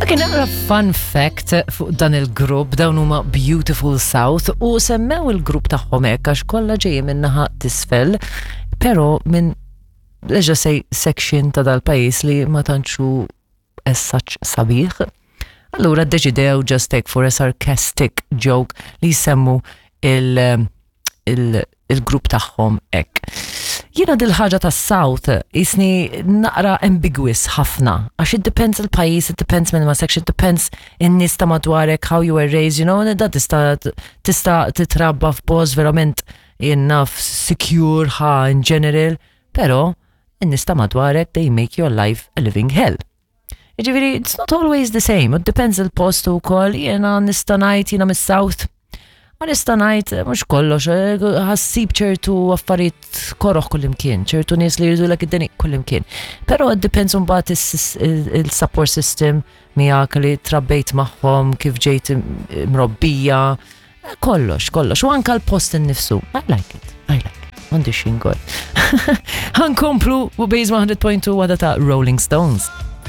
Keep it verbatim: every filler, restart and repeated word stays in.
Ok, naqra fun fact fuq dan il-grupp, dawn huma Beautiful South u semmew il-grupp tagħhom hekk għax kollha ġejjin minn naħa t'isfel, però minn, let's just say, section ta' dal-pajjiż li ma tantxu as such sabiħ. Allura ddeċidew just take for a sarcastic joke li jsemmu il- il- il-grupp tagħhom hekk. Jiena dil-ħaġa ta' South jisni naqra ambiguous ħafna, għax it depends il-pajjiż, it depends minn ma section, it depends in-nies ta' madwarek, how you were raised, you know, da tista' tista' titrabba f'post verament enough secure ħa in general, pero in-nies ta' madwarek, they make your life a living hell. Jiġifieri, it's not always the same, it depends il-post ukoll, jiena nista' ngħid jiena mis-South, ma nista' ngħid mhux kollox, eh, ħa ssib ċertu affarijiet koroħ kullimkien, ċertu nies li jridulek id-deni kullimkien. Però it depends mbagħad il-support system miegħek li trabbejt magħhom, kif ġejt mrobbija, kollox, kollox. U anka l-post innifsu. I like it, I like it. Għandi xingol. Ħa nkomplu u Base one hundred point two wada ta' Rolling Stones.